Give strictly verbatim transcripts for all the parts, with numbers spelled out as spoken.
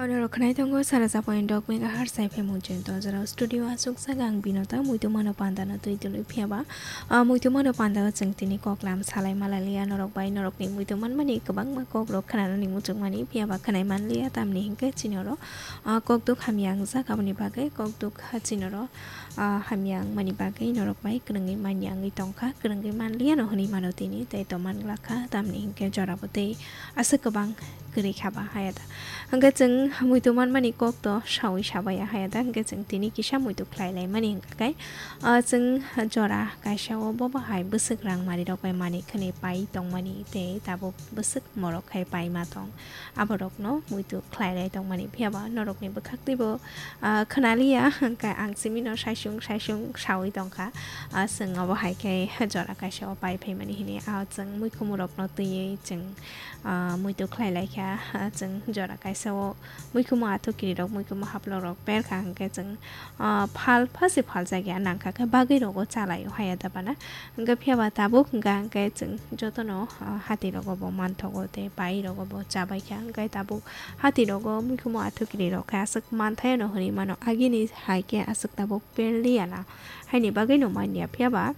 Norok khwnai tongo sara point dok megahertz F M Mujung Tongjora studio aswk saka ang Binota muitu mano panda no twi tului phiya ba, ah, muitu mano panda o chwng tini kok lam salai malaliya norok bai norok ni muitu manmani kwbangma kok rok khwnanani muchung mani phiya ba khwnai manliya tamni hinkhe chini oro, ah, kok duk hamya wngjak aboni bagwi kok duk ha chini oro, ah, hamya wngmani bagwi norok bai kwrwngwi manya wngwi tongkha kwrwngwi manliya no hwnwi mano tini tei to manglakha tamni hinkhe jora bo tei aswk kwbang kwrwi kha ba haya da. Hwnkhe chwng muitu manmani kok to sawi sabaya haya da, hwnkhe chwng tini kisa muitu khlai laimani hwnkha khe, ah, chwng jora kaisa o bobo hai bwswk rang mari rok bai manwi khwnwi pai tongmani tei tabuk bwswk morok khai paima tong. Aborokno muitu khlai lai tongmani phiya ba norokni bwkhak twibo, ah, khwnaliya hwnkhe ang simi no saisung saisung sawi tongkha. Ah, chwng obo hai khe jora kaisa o pai phaimani hwnwi, ah, chwng muikhumurokno twiwi chwng ah, muitu khlai lai kha, ah, chwng jora kaisa o muikhumu athukiri rok, muikhumu haplok rok per kha, hwnkhe chwng, ah, phal pha se phal jak ya nang kha khe bagwi rogo chalai o haya da bana. Hwnkhe phiya ba tabuk hwnkha hwnkhe chwng jotono, ah, hati rogo bo manthogo tei pai rogo bo chabai kha, hwnkhe tabuk hati rogo muikhumu athukiri rok khe aswk manthai no hwnwi mano, agini hai khe aswk tabuk per liya na, haini bagwi no man ya phiya ba.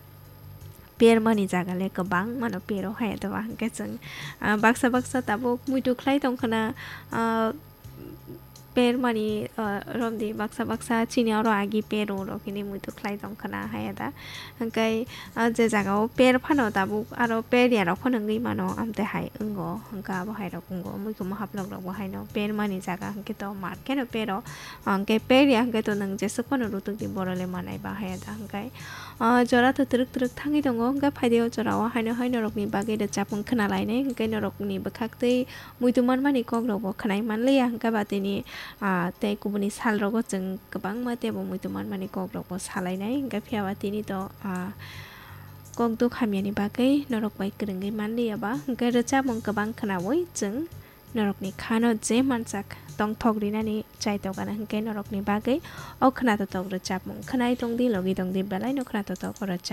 Permani jaga le kwbangma no pero hai, to ba hwnkhe chwng, ah, baksa baksa tabuk muitu khlai tong khna, ah, permani, ah, romdi baksa baksa chini oro agi pero rok hwnwi muitu khlai tong khna hai da. Hwnkhe, ah, je jaga o per phano tabuk aro per ya rok phano wngwi mano, amte hai wngo, hwnkhe abo hai rok wngo, muikhumu haplok rok bo haino permani jaga hwnkhe to mar kheno pero, hwnkhe per ya hwnkhe to nwng jeswk phano rutuk di boro le manai ba hai da hwnkhe. Ah, jora to twrwk twrwk thangwi tongo, hwnkhe phaidi o jora o haino hai norokni bagwi rwchapmung khna lainai, hwnkhe norokni bwkhak tei muitu manmani kok rok bo khwnai manliya, hwnkhe ba tini, ah, tei kubuni sal rogo chwng kwbangma teibo muitu manmani kok rok bo salainai, hwnkhe phiya ba tini to, ah, kok duk hamyani bagwi norok bai kwrwngwi manliya ba, hwnkhe rwchapmung kwbang khnaui chwng norokni khano je mansak tongthok rinani chai tongana hwnkhe norokni bagwi o khwnathok rwchapmung khwnai tongdi, logi tongdi, belai no khwnathok o rwchap.